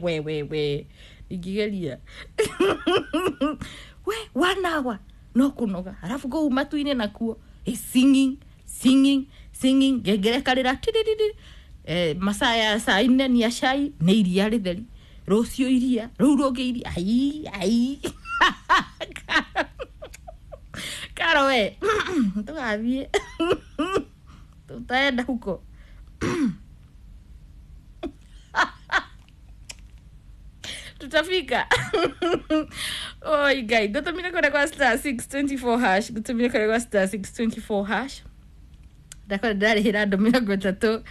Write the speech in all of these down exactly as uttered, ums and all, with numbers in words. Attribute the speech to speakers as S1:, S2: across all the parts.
S1: We we we, ingĩgeria we one hour no kũnoga, arabu kũu matu-inĩ nakuo, eh, singing singing singing, ngengere karĩra tiririri. Eh, masaa ya saa ine ni ya cai nĩ iria rĩtheri, rũciũ iria rũu rũngĩ iria, ai ai, Karo we, tũgathiĩ, tutaenda huko, tutafika. Oi Ngai, ngũtũmire kũrĩa kwa star six twenty-four hash, ngũtũmire kũrĩa kwa star six twenty-four hash. Ndakora ndarĩhĩra andũ mĩrongo ĩtatũ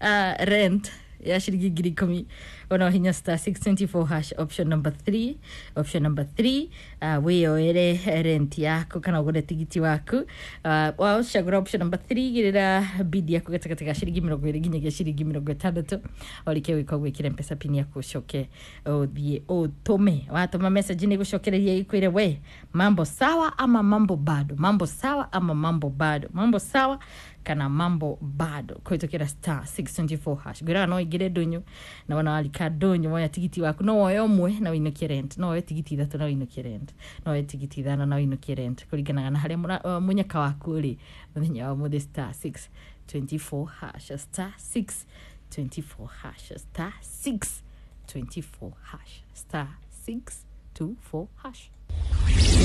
S1: uh, rent ya ciringi ngiri ikũmi. Ona hinya star six twenty-four hash, option number three, option number three, uh, wĩyoere rent yaku kana ũgũre tigiti waku. uh, wacagũra option number three, gĩrĩra bidi yaku gatagatĩ ga ciringi mĩrongo ĩrĩ nginyagia ciringi mĩrongo ĩtandatũ. Warĩkia gwĩka ũguo, ĩkĩra Mpesa pin yaku, ũcoke ũthiĩ ũtũme. Watũma message nĩ gũcokereria ĩkwĩre we mambo sawa ama mambo bado, mambo sawa ama mambo bado, mambo sawa kana mambo bado, kũhĩtũkĩra star six twenty-four hash. Ngwĩraga no ingĩre ndũnyũ na wona warika ndũnyũ, woya tigiti waku, no woye ũmwe na wĩinũkie rent, no woye tigiti ithatũ na wĩinũkie rent, no woye tigiti ithano na wĩinũkie rent, kũringanaga na harĩa mũra- uh, mũnyaka waku ũrĩ mũthenya wa ũmũthĩ. Star six twenty-four hash, star six twenty-four hash, star six twenty-four hash, star six two four hash.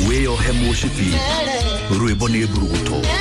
S2: Wĩyohe mũcibi, rwĩmbo nĩ mburuguto.